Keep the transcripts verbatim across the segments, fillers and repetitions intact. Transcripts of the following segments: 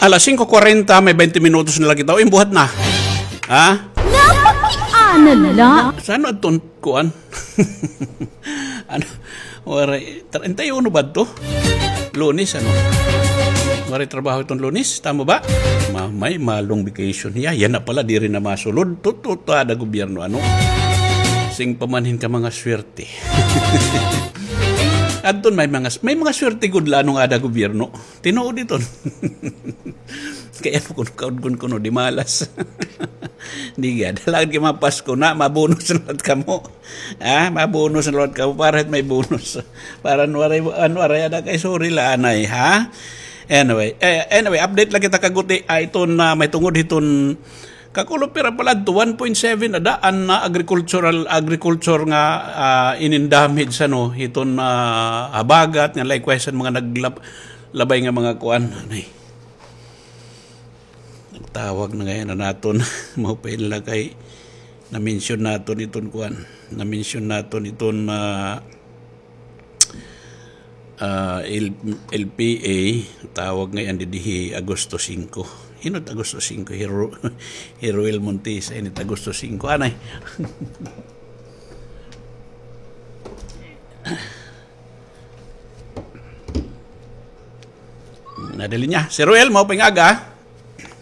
Alas singko kwarenta, may baynte minutos na la kita. Uy, buhat na. Ha? Napakiana la. Saan adton kuan? Ano? Waray, treinta y uno ba adto? Lunes, ano? Waray trabaho iton Lunes, tama ba? Ma-, may ma-long vacation hiya. Yana pala, diri na masulod. Tuto, ada gobyerno, ano? Sing pamanhin ka mga swerte. Adton may mga, may mga swerte gud la anong ada gobyerno. Tinuod iton. Kay ano kuno, kaudgon kuno, di malas. Di gad, lagad kay mapasko na, mabonus na liwat kamo. Ah, mabonus na liwat kamo, para may bonus. Para an waray, an waray ada kay sorry la anay, ha? Anyway, eh, anyway, update la kita kaguti, ah, iton, ah, may tungod hiton Kakulop, pira pala adto, one point seven ada an, ah, agricultural, agriculture nga, ah, inin damage, ano, hiton, ah, habagat, nga likewise an mga naglab-, labay nga mga kuan, anay. Nagtawag na ngay-an an aton, maupay la kay na-mention naton iton kuan, na-mention naton iton, ah, Ah, L-, L P A, tawag ngay-an didi hi Agosto singko. Hin-o it Agosto singko? Hi Ro-, hi Roel Montesa, ini it Agosto singko. Anay. Nadali niya. Sir Roel, maupay nga aga.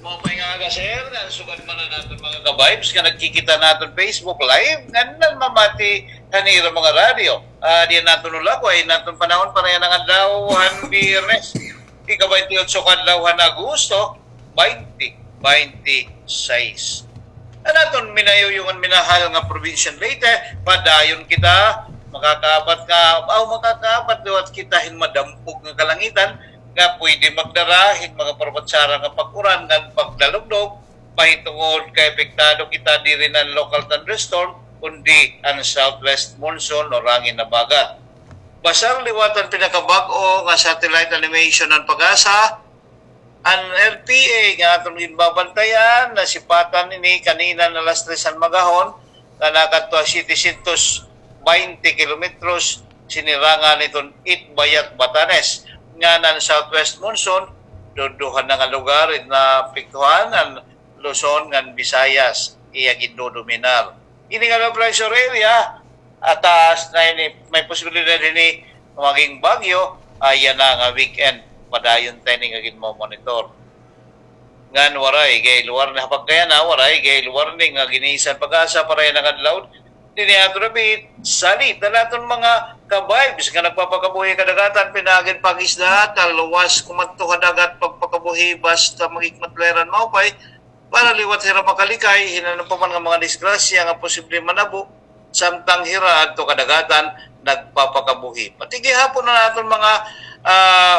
Maupay nga aga, sir. Ngan sugad man an aton mga ka-vibes nga nagkikita naton Facebook Live, ngan namamati han ira mga radyo. Ah, diyan naton ulagoy, naton panahon para yana nga adlaw han Biyernes. Ika-baynte otso ka adlaw han Agosto, baynte baynte sais. An aton minayuyong ngan minahal nga probinsya han Leyte, padayon kita, makakaabat nga, aw, makakaabat liwat kita hin madampog nga kalangitan, nga pwede magdara hin mga parabatsara nga pag-uran ngan pagdalugdog, mahitungod kay apektado kita diri na han local thunderstorm, kundi an southwest monsoon o rangin habagat. Basar liwat an pinakabag-o nga satellite animation han PAGASA, an L T A nga aton ginbabantayan, nasipatan ini kanina nga alas tres han maghapon, nga nakadto ha setecientos baynte kilometros sinirangan hiton Itbayat, Batanes, ngan an southwest monsoon, duduha na nga lugar it naapektuhan, an Luzon ngan Visayas, iya gindodominar. Ini nga low pressure area, ah, taas na ini, may posibilidad ini maging bagyo, ah, yana nga weekend, padayon ta ini nga ginmo-monitor. Ngan waray gale warning, ha pagkayana, waray gale warning nga giniisa han PAGASA para yana nga adlaw. Dinhi aton dapit, salit an aton mga ka-vibes nga nagpapakabuhi ha kadagatan, pinaagi han pangisda, talwas kumadto ha dagat, pagpakabuhi, basta mahikmat la hira hin maupay, para liwat hira makalikay hin ano pa man nga mga disgrasya nga posible manabo, samtang hira adto kadagatan nagpapakabuhi. Pati gihapon an aton mga, ah,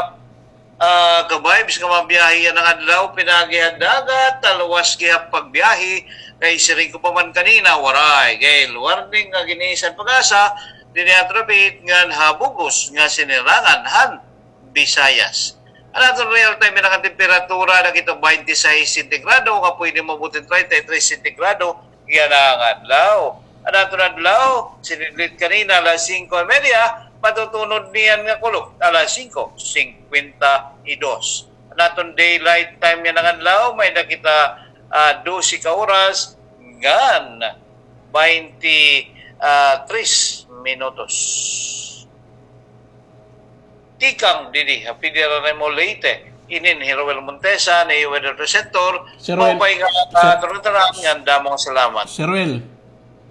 ah, ka-vibes nga mabiyahe yana nga adlaw, pinaagi ha dagat, talwas gihap pagbiyahe, kay siring ko pa man kanina, waray gale warning nga giniisa han PAGASA, dinhi aton dapit ngan ha bug-os nga sinirangan han Visayas. An aton real time yana nga temperatura, nakita, baynte sais sentigrado, nga pwede maabot hin treinta y tres sentigrado yana nga adlaw. An aton adlaw, sinidlit kanina, alas singko y media, matutunod niyan nga kulop, alas singko singkwenta y dos. An aton daylight time yana nga adlaw, may-ada kita, ah, dose ka oras ngan baynte, ah, tres minutos. Tikang didi ha Federal Remo Leyte, inin hi Roel Montesa, an iyo weather presenter. Sir Roel, maupay nga, Sir, ah, turuturahan ngan damo nga salamat. Sir Roel.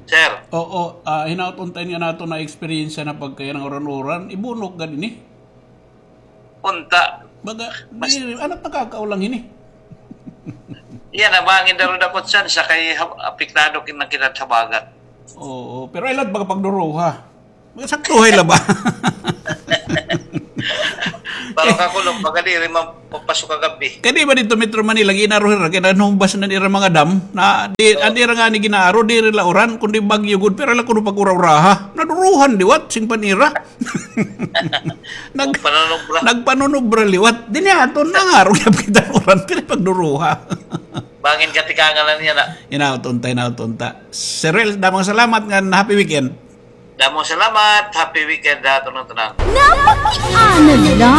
Sir. Oo, ah, hinaot unta ini an aton na-experience na pagkayana nga uran-uran, ibunok gad ini. Unta. Baga, mas di, ano, nakakaulang ini? Yana, bangin daw dako it tsansa kay ha-, apektado kin-, na kita ha habagat. Oo, pero ay la baga pagduruha. Saktuhay la ba? Para kakulop, baga diri mapapasok ha gab-i. Kay di ba didto Metro Manila, gin-aro hira, kay nanumbas na an ira mga dam, na di, an ira ngani gin-aro, diri la uran, kundi bagyo gud, pero la kuno pag-ura-uraha. Naduruhan liwat, sing pan-ira. Nag-, nagpanunubra. Nagpanunubra liwat. Dinhi aton, nangaro gihap kita uran, pero pagduruha. Bangin katikangan na niya na. Hinaot unta, hinaot unta. Sir Roel, damo nga salamat ngan happy weekend. Damo nga salamat, happy weekend ha aton nga tanan. Napakiana la.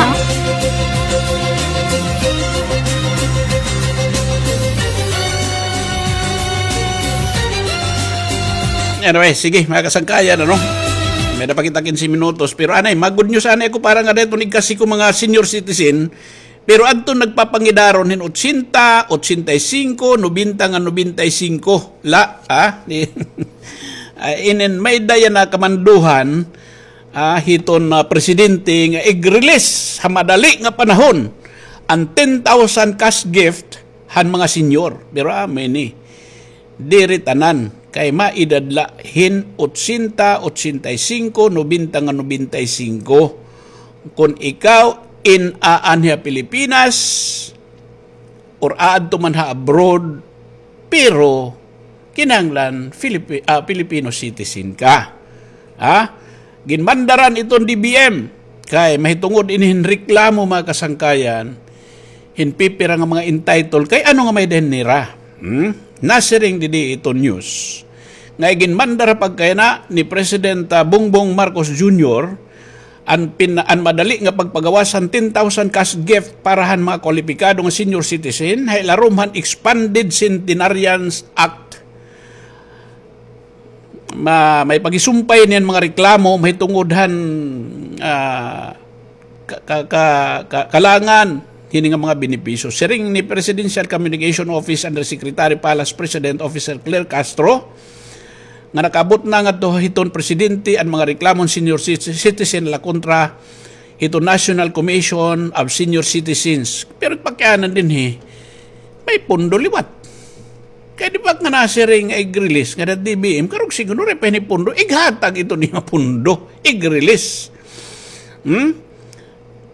Anyway, sige, mga kasangkayan, ano? May-ada pa kita kinse minutos. Pero anay, mag-good news anay ako para nga dito nagkasi ko mga senior citizen. Pero adto nagpapangidaron hin otsenta, otsenta y singko, nobenta nga nobenta y singko. La, ha? Di, ah, inin may daya na kamanduhan, ah, hiton, ah, presidente nga ig-release ha madali nga panahon an ten thousand cash gift han mga senior. Pero, ah, may ni. Diri tanan, kay maedad la hin otsenta, otsenta y singko, nobenta nga nobenta y singko. Kon ikaw in-aanhi ha Pilipinas, or aadto man ha abroad, pero kinahanglan Filipi-, ah, Filipino citizen ka. Ha? Ginmandaran iton D B M. Kay mahitungod ini hin reklamo, mga kasangkayan, hin pipira nga mga entitled. Kay ano nga may-ada hin nira? Hmm? Nasiring didi iton news nga iginmandar ha pagkayana ni President, ah, Bongbong Marcos Junior, an pin-, an madali nga pagpagawas han ten thousand cash gift para han mga kwalipikado nga senior citizen, ha ilarom han Expanded Centenarians Act. Ma-, may pagisumpay niyan mga reklamo, mahitungod han, ah, ka-, ka-, ka-, ka-, kalangan hini nga mga benepisyo. Siring ni Presidential Communication Office Undersecretary Palace President Officer Claire Castro, nga nakaabot na ngadto hiton presidente an mga reklamo han senior ci-, citizen la kontra hiton National Commission of Senior Citizens. Pero pakianan dinhi, may pondo liwat. Kay di ba nga nasiring nga ig-release nga D B M, karog siguro, waray pa ini pondo, ighatag ito niya pondo, ig-release. Hmm?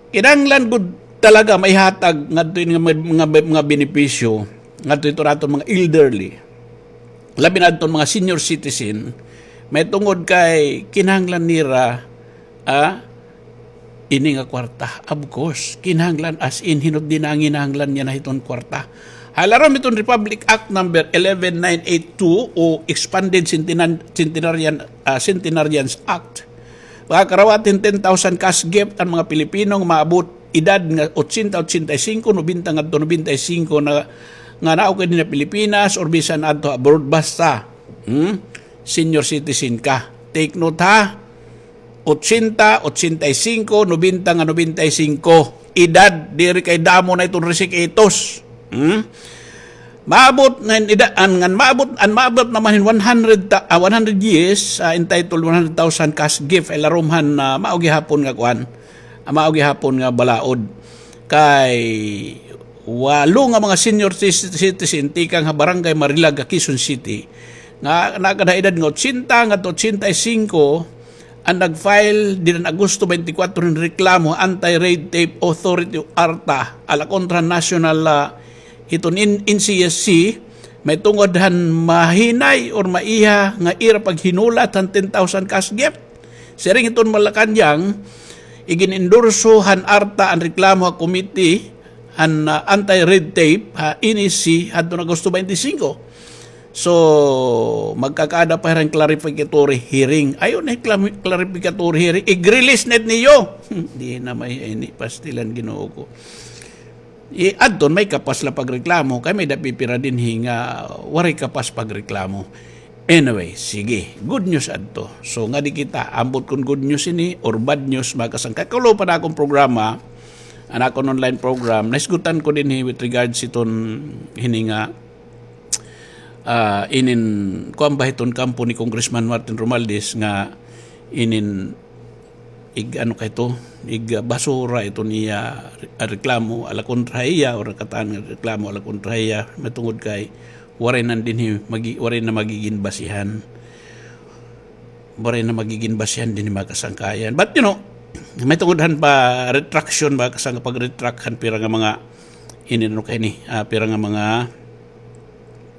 Kinahanglan gud talaga maihatag ngadto ini nga mga, mga, mga benepisyo ngadto ito naton mga elderly, labi na adton mga senior citizen, mahitungod kay kinahanglan nira, ah, ini nga kwarta. Of course, kinahanglan as in, hinot di nanginahanglan niya na hiton kwarta. Ha ilarom hiton Republic Act number eleven nine eight two o Expanded Centenan-, Centenarian, ah, Centenarians Act, makakarawat hin ten thousand cash gift an mga Pilipino nga maabot edad nga otsenta, otsenta y singko, nobenta ngadto nobenta y singko na, nga naukay dinhi ha Pilipinas or bisan adto abroad, basta, hmm, senior citizen ka. Take note, ha. Otsenta, otsenta y singko, nobenta nga nobenta y singko. Edad, diri kay damo na iton risk-itos. Hmm? Maabot ngan ida-, an, ngan maabot, an maabot naman hin one hundred ta-, ah, one hundred years, ah, entitled one hundred thousand cash gift, ay larom han, ah, mao gihapon nga kuan. Ah, mao gihapon nga balaod. Kay walo nga mga senior ci-, citizen tikang ha Barangay Marilag, ha Quezon City, nga nakada edad nga otsenta ngadto otsenta y singko, an nag-file dida han Agosto twenty-four hin reklamo ha Anti-Red Tape Authority o ARTA, ala kontra national, ah, hiton in-, N C S C, mahitungod han mahinay or maiha nga ira paghinulat han ten thousand cash gift. Siring hiton Malacañang, igin-endorso han ARTA an reklamo ha committee han, ah, Anti-Red Tape ha N S C hadton Agosto twenty-five. So, magkakaada pa hira hin clarificatory hearing. Ayaw na hin clam-, clarificatory hearing. Ig-release na it niyo. Di na may ini, pastilan, Ginoo ko. I-, adton may kapas la pagreklamo, kay may-ada pipira dinhi nga waray kapas pagreklamo. Anyway, sige, good news adto. So, ngadi kita, ambot kon good news ini or bad news, mga kasangkayan. Kaluoy pa an akon programa, an akon online program, nahisgutan ko dinhi with regards hiton hini nga, ah, inin, kuan ba hiton kampo ni Congressman Martin Romualdez nga inin ig-ano kay ito, ig-basura iton iya re-, reklamo ala kontra ha iya, or nakatan nga reklamo ala kontra ha iya, mahitungod kay waray na dinhi magi-, waray na magigin basihan. Waray na magigin basihan dinhi, mga kasangkayan. But, you know, mahitungod han pa-retraction, mga kasang-, pag-retract han pira nga mga, ini, ano kay ni, ah, pira nga mga